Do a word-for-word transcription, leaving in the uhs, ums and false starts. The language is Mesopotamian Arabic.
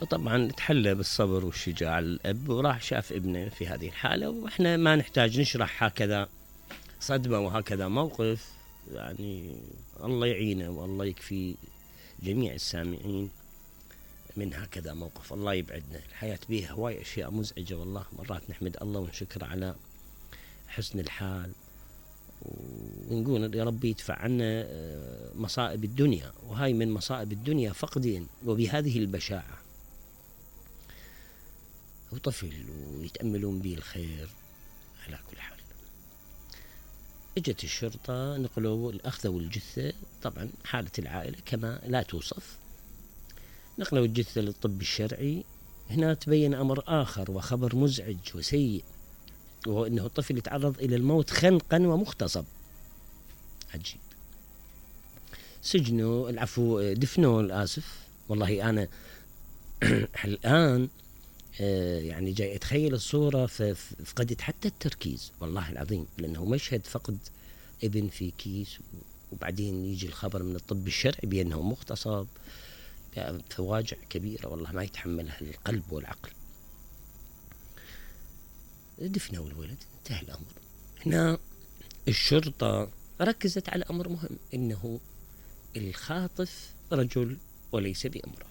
وطبعا تحلى بالصبر والشجاعة الأب، وراح شاف ابنه في هذه الحالة. وإحنا ما نحتاج نشرح هكذا صدمة وهكذا موقف، يعني الله يعينه والله يكفي جميع السامعين من هكذا موقف. الله يبعدنا، الحياة بيها هواي أشياء مزعجة والله. مرات نحمد الله ونشكر على حسن الحال، ونقول يا ربي يدفع عنا مصائب الدنيا، وهاي من مصائب الدنيا فقدين وبهذه البشاعة. وطفل ويتأملون به الخير. على كل حال اجت الشرطة، نقلوا أخذوا الجثة، طبعا حالة العائلة كما لا توصف. نقلوا الجثة للطب الشرعي. هنا تبين أمر آخر وخبر مزعج وسيء، وهو أنه الطفل يتعرض إلى الموت خنقا ومغتصب. عجيب. سجنوا، العفو دفنوا، الآسف والله. أنا الآن يعني جاي أتخيل الصورة فقدت حتى التركيز والله العظيم، لأنه مشهد فقد ابن في كيس، وبعدين يجي الخبر من الطب الشرعي بأنه مغتصب. فواجع كبيرة والله ما يتحملها القلب والعقل. دفنوا الولد، انتهى الأمر. هنا الشرطة ركزت على أمر مهم، إنه الخاطف رجل وليس بامرأة.